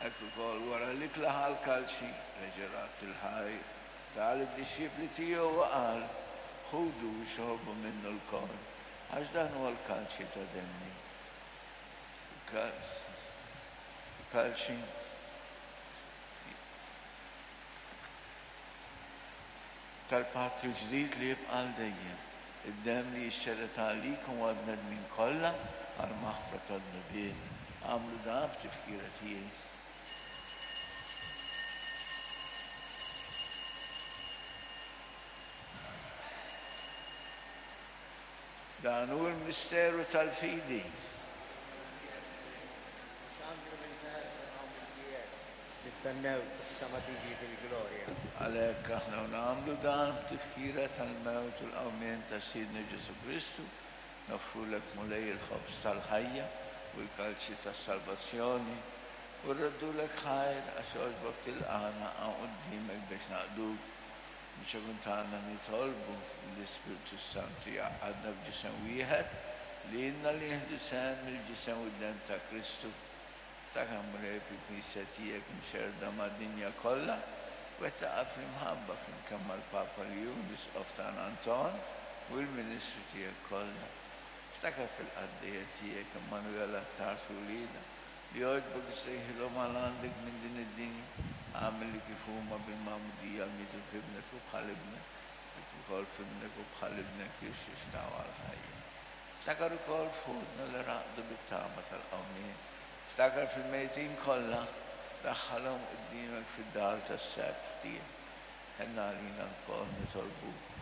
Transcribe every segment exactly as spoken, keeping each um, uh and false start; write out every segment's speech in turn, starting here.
Hekk ukoll wara l-ikla ħa l-kalċi, reġa' radd il-ħajr, ta lid-dixxipli tiegħu u qal, Ħudu u xorbu minnu lkoll, għax dan huwa l-kalċi ta' demmi. Kalċi tal-patt il-ġdid li jibqa' għal dejjem, id-demm li jixxerred għalikom u għall-bnedmin kollha għall-maħfra tad-dnubiet. Agħmlu dan b'tifkira tiegħi. Dan hu l-misteru tal-fidi. Nistennew sa ma tiġi fil-glorja. Għalhekk aħna nagħmlu dan b'tifkira tal-mewt u l-qawmien ta' Sidna Ġesù Kristu, noffrulek Mulej il-ħobż tal-ħajja u l-kalċi tas-salvazzjoni, u rroddulek ħajr għax għoġbok tilqagħna hawn quddiemek biex naqduk. Biex tagħna nitolbu li l-Ispirtu Santu jgħaqqadna f'ġisem wieħed li ilna li nieħdu sehem mill-ġisem u d-demm ta' Kristu. Ftakar Mulej fil-Knisja tiegħek imxerrda mad-dinja kollha, wettaqha fl-imħabba flimkien mal-Papa Ljun, l-Isqof tagħna Anton u l-Ministri tiegħek kollha. Ftakar fil-qaddejja tiegħek Emmanuel Attard u wliedha li għoġbok issejħilhom għal għandek minn din id-dinja. Agħmel li kif huma bil-magħmudija mietu f'ibnek u bħal ibnek, kif ukoll f'ibnek u bħal ibnek jirxixtaw għall-ħajja. Ftakar ukoll f'ħutna li raqdu bit-tama tal-qawmien. Ftakar fil-mejtin kollha, daħħalhom quddiemek fid-dar tas-sebħ tiegħek. Ħenn għalina lkoll nitolbuk.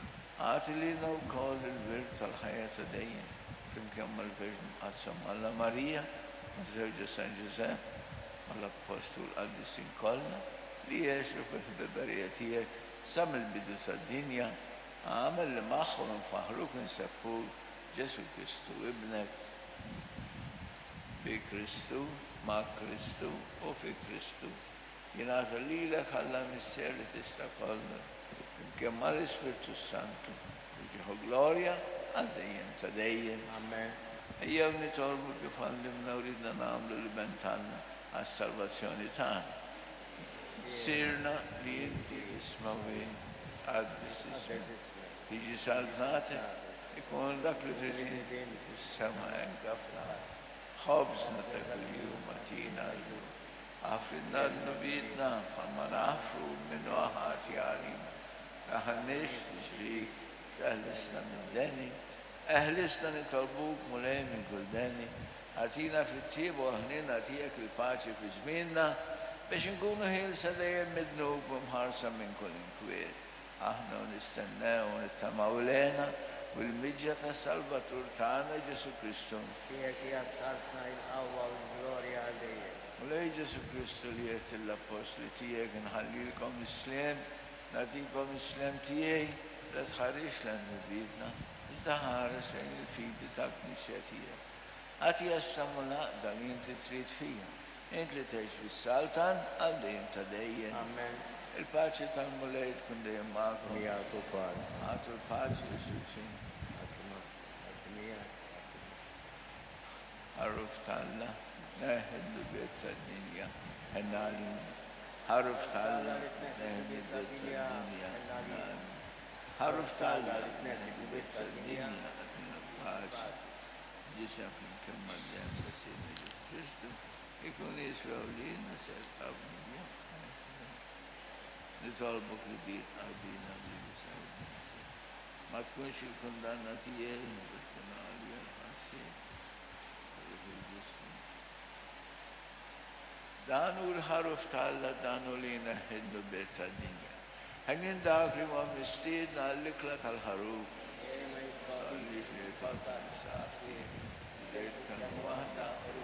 Agħti lilna wkoll il-wirt tal-ħajja ta' dejjem, flimkien mal-Verġni Mqaddsa Alla Marija, ma' żewġha San Ġużepp, mal-Appostlu u l-qaddisin kollha li għexu fil-ħbiberija tiegħek sa mill-bidu tad-dinja. Agħmel li magħhom infaħħruk u nsebbħuk Ġesù Kristu ibnek. Bi Kristu, ma' Kristu u fi Kristu. Jingħata lilek Alla Missier li tista' kollox, flimkien mal-Ispirtu Santu, ġieħ u glorja għal dejjem ta' dejjem. Amen. Ejjew nitolbu kif għallimna u ridna nagħmlu l-Iben t'Alla għas-salvazzjoni tagħna. Missierna li inti fis-smewwiet, tqaddes ismek, tiġi saltnatek, ikun dak li trid inti fis-sema hekk fl-art. Ħobżna ta' kuljum agħtina llum. Aħfrilna dnubietna bħalma naħfru min hu ħati għalina. Daħħalniex f'tiġrib, eħlisna minn deni. Eħlisna nitolbuk Mulej minn kull deni. Agħtina fit-tjieba u l-ħniena tiegħek il-paċi fi żmienna biex inkunu ħielsa dejjem mid-dnub u mħarsa minn kull inkwiet. Aħna u nistennew u nittamaw l-hena u l-miġja tas-Salvatur tagħna Ġesù Kristu. Tiegħek hija s-saltna, il-qawwa u l-glorja għal dejjem. Mulej Ġesù Kristu li għedt lill-appostli tiegħek inħallilkom is-sliem, nagħtikom is-sliem tiegħi, la tħarisx lejn dnubietna, iżda ħares lejn il-fidi tal-Knisja tiegħek. Agħtiha s-slem u l-għaqda li inti trid fija, int li tgħix bis-saltan għal dejjem ta' dejjem. Amen. Il-paċi tal-Mulej tkun dejjem magħkom. Miegħek ukoll. Agħtu l-paċi lil xulxin. Ħaruf t'Alla, tneħħi d-dnubiet tad-dinja, ħenn għalina. Ħaruf t'Alla, tneħħi d-dnubiet tad-dinja, ħenn għalina. Ħaruf t'Alla, tneħħi d-dnubiet tad-dinja, agħtina l-paċi. Ġisem flimkien mad-demm ta' Sidna Ġesù Kristu ikun jiswew lilna se jibqgħu Nitolbok li bid qalbina bil-ġisem u d-demm tiegħek. Ma tkunx il-kundanna tiegħi, iżda tkun għalija l-ħarsien. Dan hu l-ħaruf t'Alla, dan hu li jneħħi d-dnubiet tad-dinja. Ħenjin dawk li huma mistiedna għall-ikla tal-ħaruf. Sallix li jitolbu safi, bdejt kelma waħda u